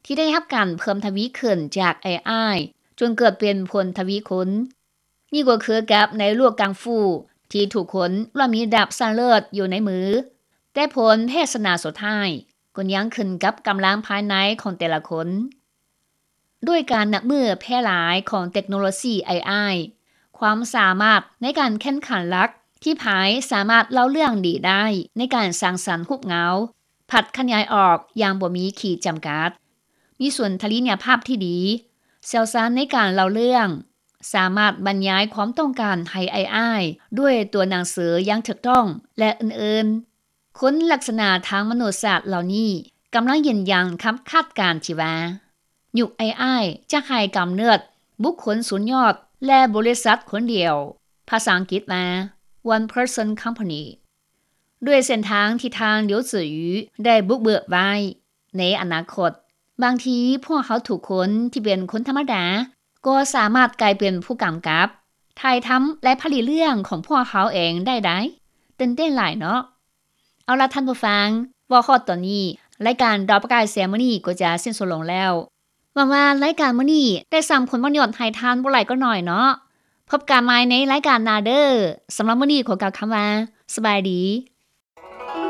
ທີ່ໄດ້ຮັບການເພີ່ມທະວີຂຶ້ນຈາກ ເອໄອ ຈົນເກີດເປັນຜົນທະວີຄູນ. ນີ້ກໍຄືກັບໃນໂລກກັງຟູ ທີ່ທຸກຄົນລ້ວນມີດາບສັ້ນເລີດຢູ່ໃນມື, ແຕ່ຜົນແພ້ຊະນະສຸດທ້າຍກໍຍັງຂຶ້ນກັບກຳລັງພາຍໃນຂອງແຕ່ລະຄົນ. ດ້ວຍການນັບມື້ແຜ່ຫຼາຍຂອງເຕັກໂນໂລຊີ ເອໄອ ຄວາມສາມາດໃນການແຂ່ງຂັນຫຼັກທີ່ໃຜສາມາດເລົ່າເລື່ອງດີໄດ້ໃນການສ້າງສັນຮູບເງົາ ພັດຂະຫຍາຍອອກຢ່າງບໍ່ມີຂີດຈຳກັດ. ມີສູນທັດທະນະຍະພາບທີ່ດີ, ຊ່ຽວຊານໃນການເລົ່າເລື່ອງ, ສາມາດບັນຍາຍຄວາມຕ້ອງການໃຫ້ ເອໄອ ດ້ວຍຕົວໜັງສືຢ່າງຖືກຕ້ອງ ແລະ ອື່ນໆ. ຄຸນລັກສະນະທາງມະນຸດສາດເຫຼົ່ານີ້ກຳລັງຢືນຢັນຄຳຄາດການທີ່ວ່າ ຍຸກ ເອໄອ ຈະໃຫ້ກຳເນີດບຸກຄົນສຸດຍອດ ແລະ ບໍລິສັດຄົນດຽວ, ພາສາອັງກິດວ່າ one person company. ດ້ວຍເສັ້ນທາງທີ່ທ່ານ Liu Zhiyu ໄດ້ບຸກເບີກໄວ້ໃນອະນາຄົດ, ບາງທີພວກເຮົາທຸກຄົນທີ່ເປັນຄົນທຳມະດາ ກໍສາມາດກາຍເປັນຜູ້ກຳກັບ, ຖ່າຍທຳ ແລະ ຜະລິດເລື່ອງຂອງພວກເຮົາເອງໄດ້ໃດ໋. ຕື່ນເຕັ້ນຫຼາຍເນາະ. ເອົາລະທ່ານຜູ້ຟັງ, ເວົ້າຮອດຕອນນີ້, ລາຍການດາວປະກາຍແສງມື້ນີ້ກໍຈະສິ້ນສຸດລົງແລ້ວ. ຫວັງວ່າລາຍການມື້ນີ້ໄດ້ສ້າງຜົນປະໂຫຍດໃຫ້ທ່ານບໍ່ຫຼາຍກໍໜ້ອຍເນາະ. ພົບກັນໃໝ່ໃນລາຍການໜ້າເດີ້. ສຳລັບມື້ນີ້ຂໍກ່າວຄຳວ່າ ສະບາຍດີ.